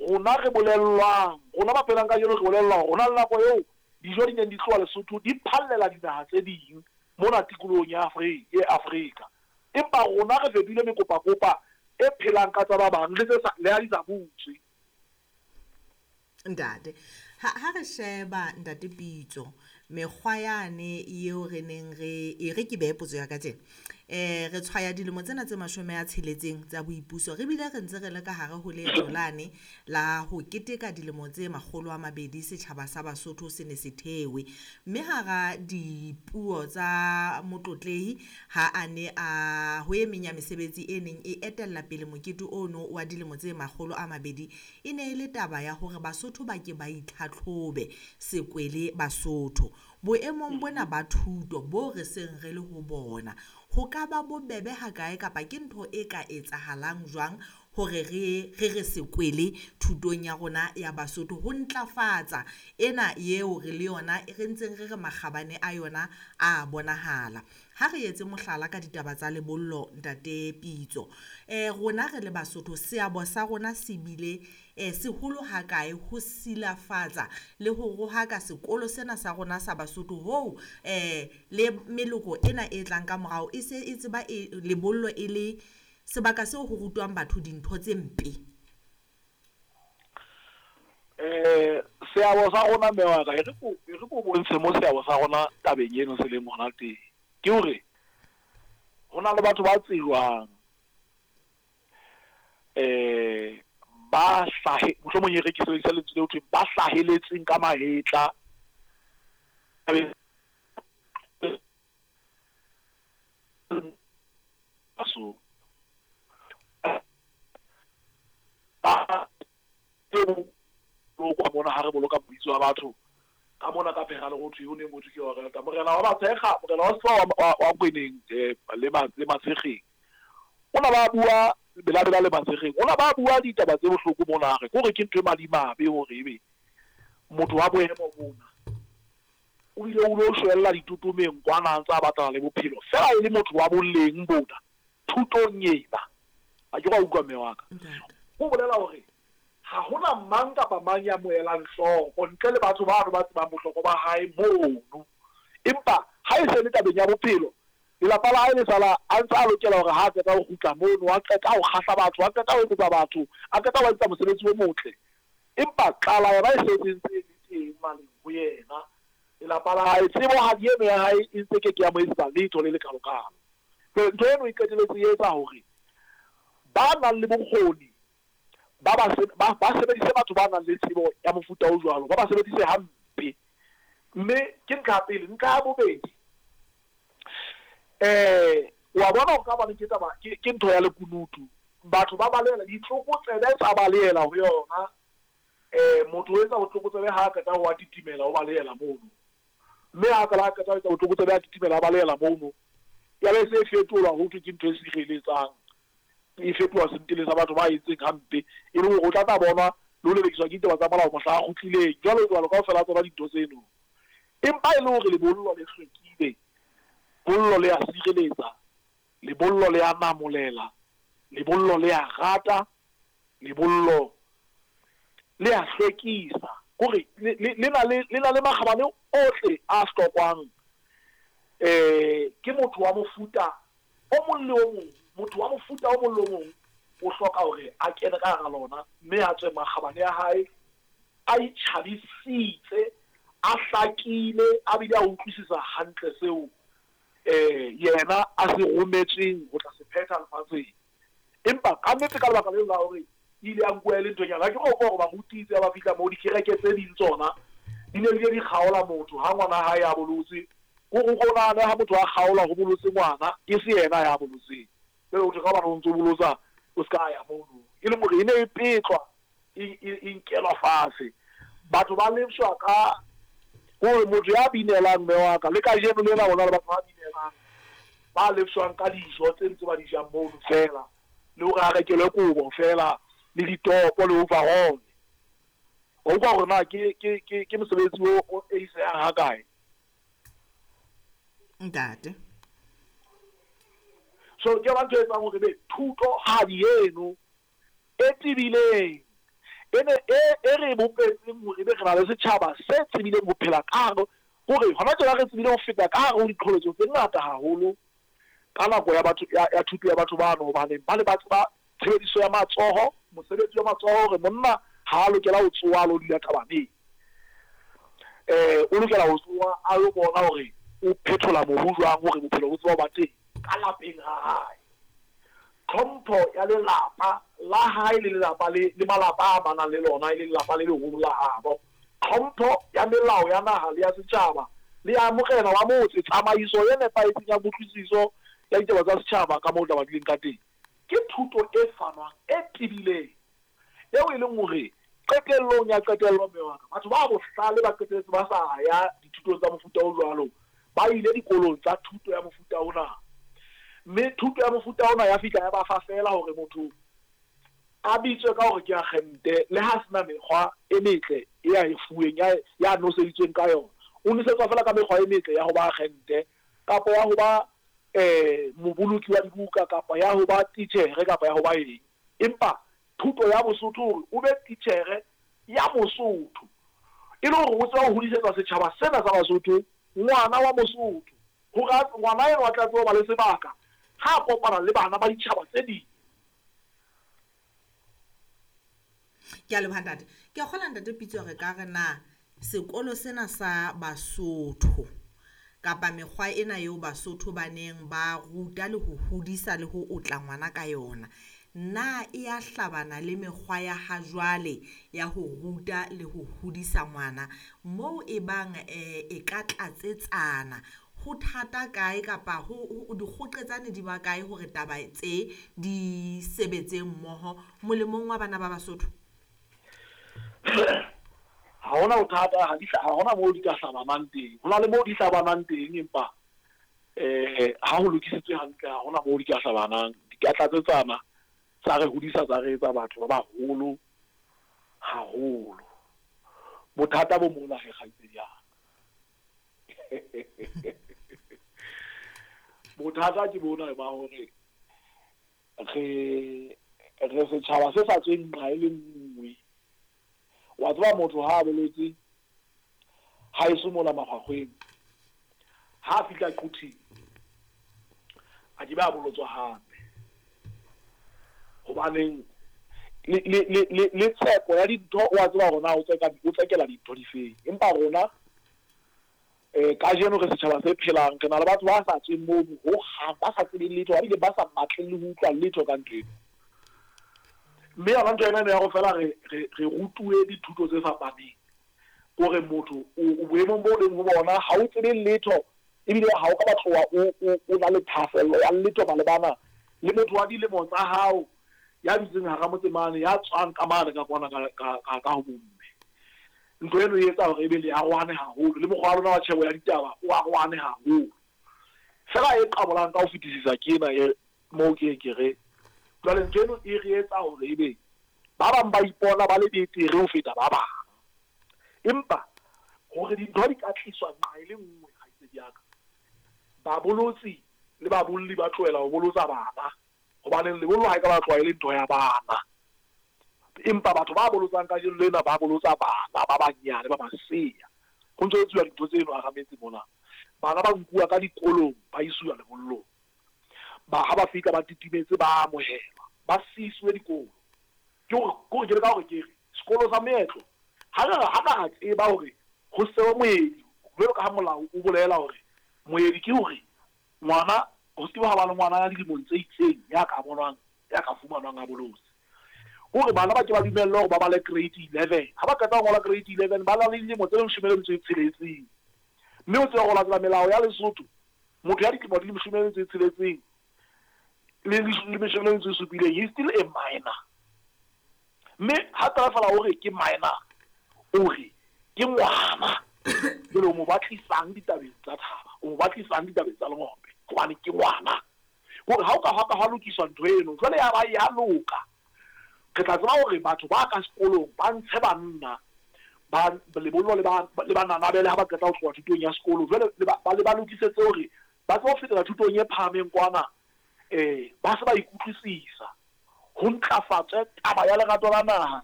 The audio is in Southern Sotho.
Rona re bolellwang, rona ba phelang kajeno re bolellwa hore ho na le nako eo dijo di neng di tloha Lesotho di phallela dinaha tse ding mona tikolohong ya Afrika. Empa rona re fetohile mekopakopa e phelang ka tsa ba bang le tse sa, leha di sa butswe. Ntate, ha, ha re sheba Ntate Pitso, mekgwa yane eo re neng re, e re ke behe potso ya ka tjena. Re tshwaya dilemo tsena tse 60 tsa boipuso, re bile re ntse re le ka hare ho leeto lane la ho keteka dilemo tse 200 setjhaba sa Basotho se ne se thewe. Mme hara dipuo tsa motlotlehi ha a ne a ho e meng ya mesebetsi e neng e etella pele mokete ono wa dilemo tse 200, e ne e le taba ya hore Basotho ba ke ba itlhatlhobe sekwele Basotho. Boemong bona ba thuto bo re seng re le ho bona, ho ka ba bobebe hakae kapa ke ntho e ka etsahalang jwang hore re re re sekwele thutong ya rona ya Basotho ho ntlafatsa ena eo re le yona re ntseng re re makgabane a yona a bonahala. Ha re etse mohlala ka ditaba tsa lebollo Ntate Pitso. Rona re le Basotho seabo sa rona se bile seholo hakae ho silafatsa le ho rohaka sekolo sena sa rona sa Basotho hoo le meloko ena e tlang ka morao e se e tseba lebollo e le sebaka seo ho rutwang batho dintho tse mpe. Seabo sa rona mme wa ka, e re ko bontshe mo seabo sa rona tabeng eno se leng hona teng. Ke hore ho na le batho ba tsejwang ba hlahe, mohlomong e re ke sebedisa lentswe leo thweng ba hlaheletseng ka mahetla so ba kwa mona ha re boloka mabitso a batho ka mona ka phera le ho thwe ho neng ho thwe ke wa rata morena wa Matshekga, morena wa Setlwa wa Kweneng le Matshekgeng. O na ba bua Bela-Bela le Matshekgeng, o na ba bua ditaba tse bohloko mona, re kore ke ntho e madimabe hore ebe motho wa boemo bona o ile o lo shwella ditotomeng kwana a ntse a batlana le bophelo fela e le motho wa boleng bona thutong ena. Ha ke wa utlwa mme wa ka. Ho bolela hore ha hona mang kapa mang ya mo elang hloko ntle le batho bano ba tsebang bohlokwa ba hae mono. Empa ha e se le tabeng ya bophelo, lelapa la hae le sala a ntse a lokela hore ha a qeta ho kgutla mono, a qeta ho kgahla batho, a qeta ho etsetsa batho, a qeta ho etsa mosebetsi o motle. Empa tlala yona e setse ntse e le teng maleng ho yena. Lelapa la hae, tsebohadi eno ya hae e ntse ke ke ya mo etsetsa letho le lekalokalo. Ntho eno e qeteletse e etsa hore ba nang le bokgoni ba ba sebedise batho ba nang le tsebo ya mofuta o jwalo, ba ba sebedise hampe. Mme ke ntlha ya pele. Ntlha ya bobedi, wa bona hore ka hobane ke taba ke ntho ya lekunutu, batho ba balehela ditlokotsebe tsa balehela ho yona. Motho o etsa botlokotsebe ha a qeta ho a titimela, o balehela mono. Mme ha fela a qeta ho etsa botlokotsebe a titimela, a balehela mono. Ya be se fetolwa ho thwe ke ntho e sireletsang, e fetoha sentele sa batho ba entseng hampe, e le hore o tla tla bonwa le ho lelekiswa ke ditaba tsa molao mohla a kgutlileng, jwalo jwalo, kaofela tsona dintho tseno. Empa e le hore lebollo le hlwekile, bollo le a sireletsa, lebollo le a namolela, lebollo le a rata, lebollo le a hlwekisa, kore le na le le na le makgabane ohle a hlokwang ke motho wa mofuta o mong le o mong. Motho wa mofuta o mong le o mong o hloka hore a kene ka hara lona mme a tswe makgabane a hae a itjhabisitse, a hlakile, a bile a utlwisisa hantle seo yena a se rometsweng ho tla se phetha lefatsheng. Empa ka nnete ka lebaka leo la hore e ile ya nkuwa e le nthonyana, ha ke re hore baruti itse ha ba fihla moo dikereke tse ding tsona di ne di kgaola motho ha ngwana hae a bolotse. Kore o ko nahane ha motho a kgaolwa ho bolotse ngwana, e se yena ya bolotseng. Jwale ho thwe ka hobane o ntso bolotsa o ska ya mono. E leng hore e ne e petlwa, e nkelwa fatshe. Batho ba lefshwa ka hore motho ya binelang mme wa ka, le kajeno lena ho na le batho ba binelang, ba lefshwang ka dijo tse ntse ba di jang mono feela, le hore a rekelwe kobo feela, le ditopo le overall. Wa utlwa hore na ke mosebetsi o eisehang hakae? Ntate. So ke yona ntho e etsang hore be thutohadi eno e tebileng, Ene e re bopetseng hore ebe re na le setjhaba se tsebileng ho phela ka hare, hore hona tjena re tsebile ho feta ka hare ho diqholotso tse ngata haholo ka nako ya batho ya thuto ya batho bano, hobane ba ne ba tseba tshebediso ya matsoho, mosebetsi wa matsoho, hore monna ha a lokela ho tsoha a lo dula thabaneng. O lokela ho tsoha a lo bona hore o phethola mobu jwang hore bophelo bo tseba ho ba teng ka lapeng ha hae. Tlhompho ya lelapa la hae le lelapa le le malapa a amanang le lona, e leng lelapa le leholo la habo. Tlhompho ya melao ya naha le ya setjhaba le ya morena wa motse. Tsamaiso e nepahetseng ya kutlwisiso ya ditaba tsa setjhaba ka moo taba di leng ka teng. Ke thuto e fanwang e tebileng eo e leng hore qetellong ya qetello, mme wa ka, batho ba bohlale ba qetelletse ba sa ya dithutong tsa mofuta o jwalo, ba ile dikolong tsa thuto ya mofuta ona. Mme thuto ya mofuta ona ya fihla ya ba fa feela hore motho a bitswe ka hore ke agente, le ha sena mekgwa e metle e a e fuweng, ya noseditsweng ka yona. O nosetswa feela ka mekgwa e metle ya ho ba agente, kapa ya ho ba moboloki wa dibuka, kapa ya ho ba titjhere, kapa ya ho ba eng. Empa thuto ya Bosotho hore o be titjhere ya Mosotho, e le hore o tseba ho hodisetsa setjhaba sena sa Basotho ngwana wa Mosotho, hore ngwana enwa a tla tseba ho ba le sebaka ha a kopana le bana ba ditjhaba tse ding. Ke a leboha, ntate. Ke a kgolwa, ntate Pitso, re ka re na sekolo sena sa Basotho kapa mekgwa ena eo Basotho ba neng ba ruta le ho hodisa le ho otla ngwana ka yona, na e ya hlabana le mekgwa ya ha jwale ya ho ruta le ho hodisa ngwana? Moo e bang e ka tlatsetsana, ho thata kae kapa ho dikgoqetsane di ba kae hore taba tse di sebetse mmoho molemong wa bana ba Basotho? Ha hona bothata, ha hona moo di ka hlabanang teng. Ho na le moo di hlabanang teng, empa ha ho lokisitswe hantle, ha hona moo di ka hlabanang. Di ka tlatsetsana, tsa re hodisa, tsa re etsa batho ba baholo haholo. Bothata bo mona he, kgaitsedi ya ka. Bothata ke bona ba hore re setjhaba se sa tsweng nqa e le nngwe. Wa tseba motho ha a boletse ha eso mola makgwakgweng, ha a fihla Quthing a ke be a bolotswa hape. Hobaneng le tseko ya dintho, wa tseba hore na o tsekela dintho difeng. Empa rona kajeno re setjhaba se phelang, re na le batho ba sa tsweng mono hohang, ba sa tsebeng letho, ba bile ba sa batleng le ho utlwa letho ka ntho eno. Mme yona ntho ena ya ho fela re rutuwe dithuto tse fapaneng, hore motho o boemong bo leng ho bona, ha o tsebe letho, ebile ha o ka batloha o na le thahasello ya letho malebana le motho wa dilemo tsa hao ya dutseng hara motse mane, ya tswang ka mane ka kwana ka ho bomme. Ntho eno e etsa hore ebe le arohane haholo, le mokgwa wa lona wa tjhebo ya ditaba o arohane haholo. Feela e qabolang ka ho fetisisa ke ena e moo ke ke re jwale ntho eno e re etsa hore ebe ba bang ba ipona ba le betere ho feta ba bang. Empa hore dintho di ka tliswa nqa e le nngwe, kgaitsedi ya ka, babolotsi le babolli ba tlohela ho bolotsa bana, hobane lebollo ha e ka ba tloha e le ntho ya bana. Empa batho ba bolotsang kajeno lena ba bolotsa bana ba banyane ba masea. Ho ntso etsuwa dintho tseno hara metse mona. Bana ba nkuwa ka dikolong ba isuwa lebollong. Ba ha ba fihla ba titimetse ba amohelwa, ba siiswe dikolo. Ke hore ke le ka hore ke re sekolo sa meetlo ha re ha ka tseba hore ho sewe moedi, jwalo ka ha molao o bolela hore moedi ke hore ngwana ho se ha ba le ngwana ya dilemong tse itseng ya ka bonwang, ya ka fumanwang a bolotse. Hore bana ba ke ba dumellwe hore ba bale grade 11. Ha ba qeta ho ngola grade 11, ba na le dilemo tse 16. Mme o tsebe hore latela melao ya Lesotho, motho ya dilemo di 16 le 17, he is still a minor. Mme ha taba fela hore ke minor, o re ke ngwana, jwale o mo batlisang ditabeng tsa thaba, o mo batlisang ditabeng tsa lengope, hobane ke ngwana. Hore ha o ka hwa ka hwa lokiswa ntho eno, jwale ya ba ya loka. Re tla tseba hore batho ba ka sekolong ba ntshe banna ba lebollo le ba nanabele ha ba qeta ho tloha thutong ya sekolo. Jwale le ba lokisetse hore ba tsebe ho fetela thutong e phahameng kwana, ba se ba ikutlwisisa. Ho ntlafatswe taba ya lerato la naha